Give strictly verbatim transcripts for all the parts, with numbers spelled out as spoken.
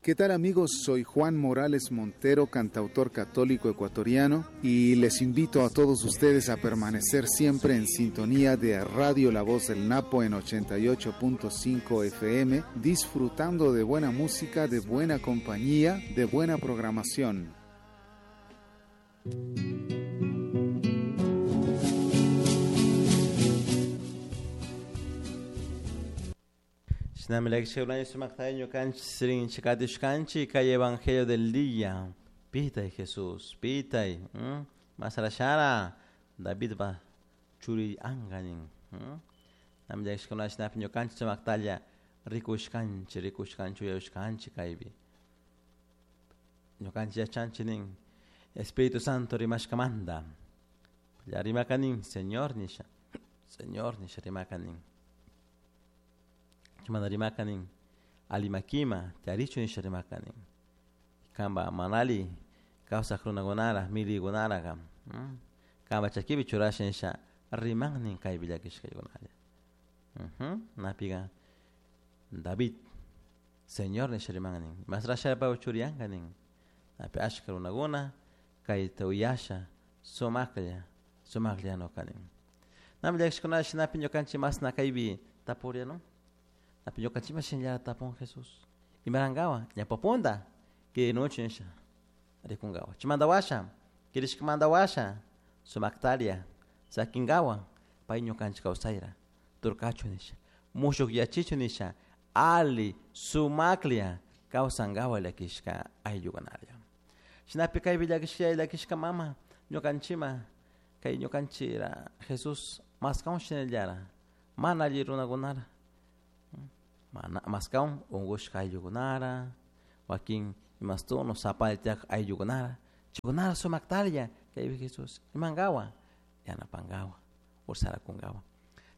¿Qué tal amigos? Soy Juan Morales Montero, cantautor católico ecuatoriano, y les invito a todos ustedes a permanecer siempre en sintonía de Radio La Voz del Napo en ochenta y ocho punto cinco F M, disfrutando de buena música, de buena compañía, de buena programación. Kay Evangelio del día. Pitay Jesús, pitay. Masarashara David ba churi anganin. Namllakishkunashnapi rikushkanchi, rikushkanchi, uyashkanchi kaypi. Ñukanchik yachanchik nin Espíritu Santo rimashkamanta. Rimakanin Señor nisha. Señor nisha rimakanin. Chimanda rimakanin alimakima tarichu nisha rimakanin. Kamba manali kawsaq runakunara milikunara kam. Kamba chakipi churasha nisha rimannin kaypi llakishkaykunalla. Napiga David Señor nisha rimannin. Masrasha churiyankanin. Napi ashka runakuna kayta uyasha sumaqlla sumaqlla nokanin. Nami llakishkunalla shinapi ñukanchik masna kaypi tapuria no. Napi ñukanchikma shinllara tapun Jesús. Imarankawa ñapapunda kirinuchu nisha rikunkawa. Chimanta washa kirishkamanta washa sumaktaria sakinkawa pay ñukanchik kawsayra turkachu nisha mushuq yachichu nisha ali sumaklla kawsankawa llakishka ayllukunalla. Shinapi kaypi llakishka llakishka mama ñukanchikma kay ñukanchira Jesús maskawan shinallara mana alli runakunara. Mana maskawan unqushka ayllukunara wakin imastuno sapaltiaq ayllukunara chaykunara sumaktarlla kaypi Jesús imankawa yanapankawa ursarakunkawa.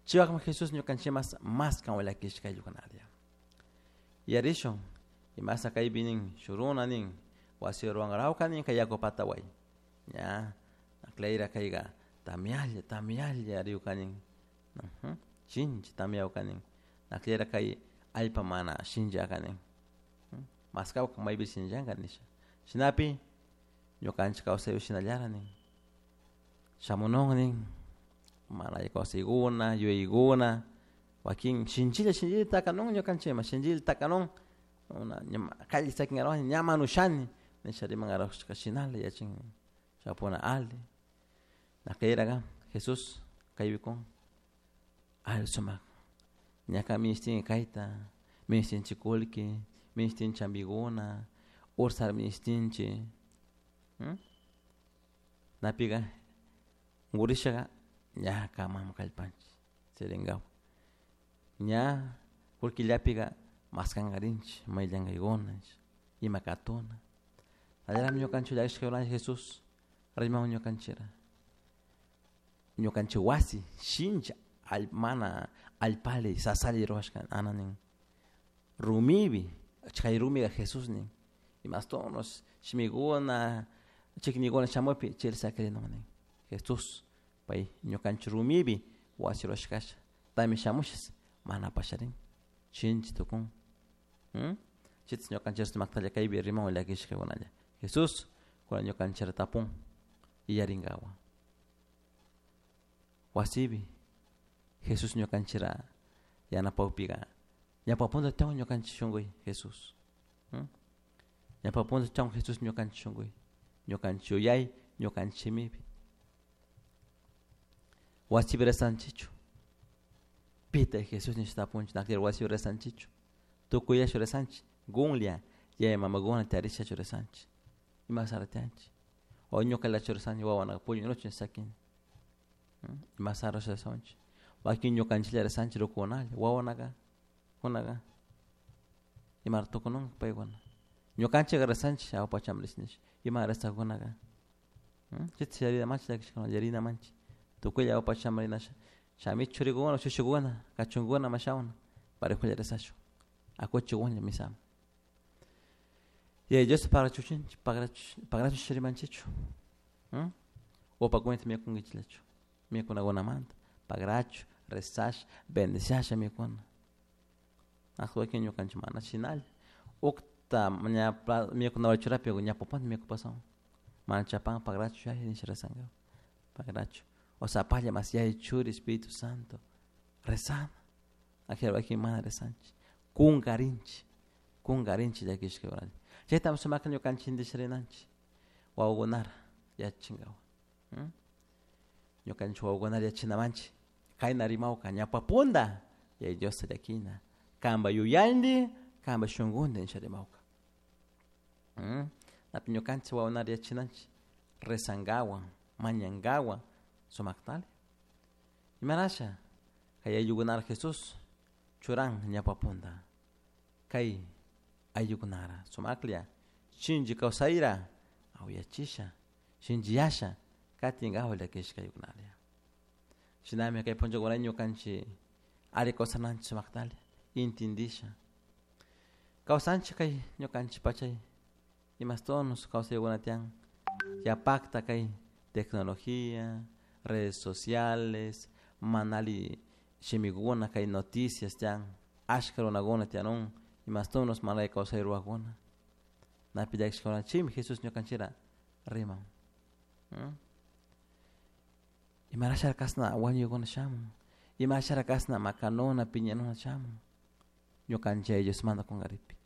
Chiwaqmi Jesús ñukanchikmas maskan llakishka ayllukunalla. Yarishun imasa kaypi nin shuruna nin wasi ruwankarawka nin kay yaku pataway ña aklayra kayqa tamyalla tamyalla riwkanin shinchi tamyawkanin aklayra kay allpa mana shinllakanin maskawka maypi shinllanka nisha shinapi ñukanchik kawsaypi shinallara nin shamunun nin mana alli kawsaykuna yuyaykuna wakin shinchilla shinchilla takanun ñukanchikma shinchilla takanun una kalli sakinkarawani ña manushani nisha rimankarawshka shinala yachin chapuna ali nakayraka Jesús kaybikun ali sumak ñaka minishtin kayta minishtinchik kullki minishtin chambikuna ursar minishtinchik napiqa unqurishaqa ña kamam kallpanchik sirinkawa ña kullkillapiqa maskankarinchik mayllank'aykuna ima katuna allarami ñukanchik llakishka Jesús rimawan ñukanchikra ñukanchik wasi shincha mana allpali sasali ruwashka ana nin rumipi chay rumiqa Jesús nin imastunos shimikuna chiknikuna shamupi chayla sakirinun nin Jesús pay ñukanchik rumipi wasi ruwashkasha tami shamushas mana pasharin shinchi tukun chaytas ñukanchik sumaktalla kaypi rimawan llakishkakunalla Jesús kuna ñukanchikra tapun iyarinkawa wasipi Jesús ñukanchikra yanapawpiqa ñapapunta tiyan ñukanchik shunquy Jesús ñapapunta tiyan Jesús ñukanchik shunquy ñukanchik yuyay ñukanchik shimipi wasipi rezanchikchu pitay Jesús nisha tapunchik nakllari wasipi rezanchikchu tukuyachu rezanchik qunlla yaya mamakuna tiyarishachu rezanchik imasara tiyanchik o ñukallachu rezanchik wawanaqa puñunuchu sakini imasara rezanchik wakin ñukanchiklla rezanchik rukukunalla wawanaka kunaqa imara tukununka paykuna ñukanchikqa rezanchik awpacham rish nisha ima rezaqkunaqa chayta yarina manchik llakishkuna yarina manchik tukuylla awpacham rinasha shami churikuna shushukuna kachunkuna mashawna parejula rezashun akuchik qunlla misama yaya Diosta pagrachuchinchik pagrachu rimanchikchu upakunata mikunkichikllachu mikunakunamanta pagrachu rezasha bendiciasha mikuna wakin ñukanchik mana shinalla Ta ña mikuna churapi ña popón mikupasan mana chapan pagrachu yaya nisha rezangawa pagrachu o sapalla mas yaya churi Espíritu Santo rezana ajero wakin mana rezanchik kunkarinchik kunkarinchik llakishka chayta sumakta ñukanchik intendisharinanchik wawakunara yachachinkawa ñukanchik wawakunara yachachinamanchik kayna rimawka ñawpa punta yaya Diosta llakina kanpa yuyanti kanpa shunkunti nisha rimawka napi ñukanchik wawakunara yachachinanchik rezankawan mañankawan sumaktali imarasha kay ayllukunara Jesús churan ñawpa punta kay ayllukunara sumaklla shinchi kawsayra awyachisha shinchiyasha katinkawa llakishka ayllukunalla shinami kay punllakuna ñukanchik ari kawsananchik sumaktali intindisha kawsanchik kay ñukanchik pachay imastonos kawsaykuna tiyan yapakta kay tecnología, redes sociales, manali shimikuna kay noticias tiyan ashka runakuna tiyanun imastonos manali kawsay rurakuna napi llakishkuna chaymi Jesús ñukanchikra riman imarashara kashna wañuykuna shamun imarashara kashna makanuna piñanuna shamun ñukanchik yaya Diosmanta kunkaripi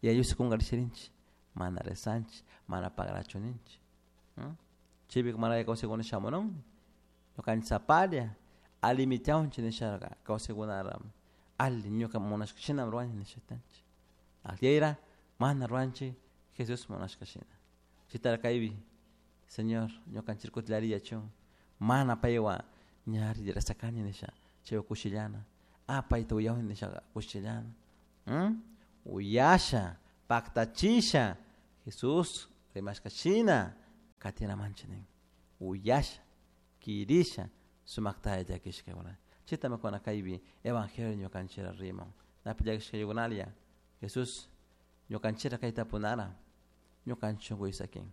yaya Dios kunkarisharinchik mana rezanchik mana pagrachu ninchik chaypika mana kawsaykuna shamunun ñukanchik sapalla allimi tiyanchik nishaka kawsaykunara alli ñuka munashka shinami ruwani nisha tiyanchik akllera mana ruwanchik Jesús munashka shina chaytara kaypi Señor ñukanchik kutilari yachun mana paywan ñari rezakani nisha chaywan kushillana ah payta uyawani nishaka kushillana uyasha paktachisha Jesús rimashka shina katinamanchik nin uyasha kirisha sumaktalla llakishkakuna chaytami kuna kaypi evangelio ñukanchikra riman napi llakishkaykunalla Jesús ñukanchikra kay tapunara ñukanchik shunkuy sakin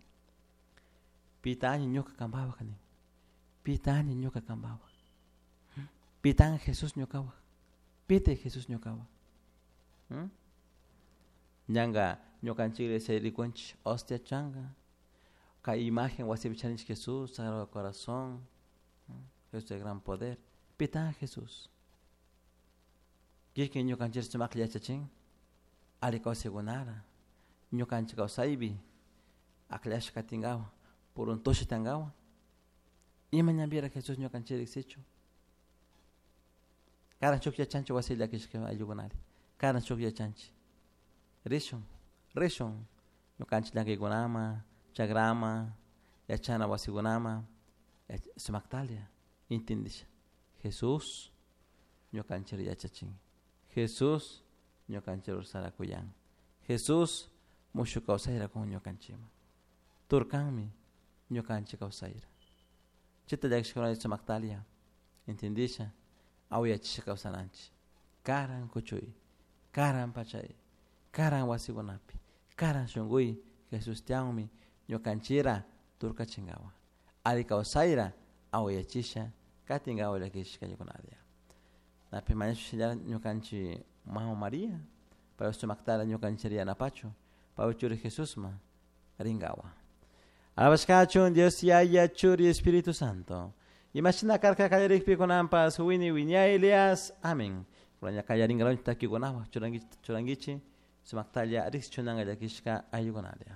pitaña ñuka kanpawak nin pitaña ñuka kanpawak pitan Jesús ñukawak pitay Jesús ñukawak ñanka ñukanchik iglesia rikunchik hostia chanka kay imagen wasipi charinchik Jesús Sagrado Corazón Jesús de gran poder pitan Jesús kikin ñukanchik sumaklla yachachin alli kawsaykunara ñukanchik kawsaypi akllashka katinkawa puruntusha tiyankawa ima ñanpira Jesús ñukanchik riksichun karan shuk yachanchik wasi llakishka ayllukunari karan shuk yachanchik rishun rishun ñukanchik llankaykunaman chakraman yachana wasikunaman sumaktalla intindisha Jesús ñukanchik yachachin Jesús ñukanchik kuyan Jesús mushuk kawsayra kun ñukanchikman turkanmi ñukanchik kawsayra chayta llakishkuna sumaktalla intindisha awyachisha kawsananchik karan kuchuy karan pachay karan wasikunapi karan shunkuy Jesús tiyanmi ñukanchikra turkachinkawa alli kawsayra awyachisha katinkawa llakishka ayllukunalla napi mañashpa ñukanchik mama María pay sumaktalla ñukanchik yanapachu paypak churi Jesusman rinkawa alabashkachun Dios Yaya Churi Espíritu Santo imashina karka kallarikpi kunanpas wini wiñaylias amén kunan kallarinkalanchik takikunawan churankichik churankichik sumaktalla riksichunanka llakishka ayllukunalla.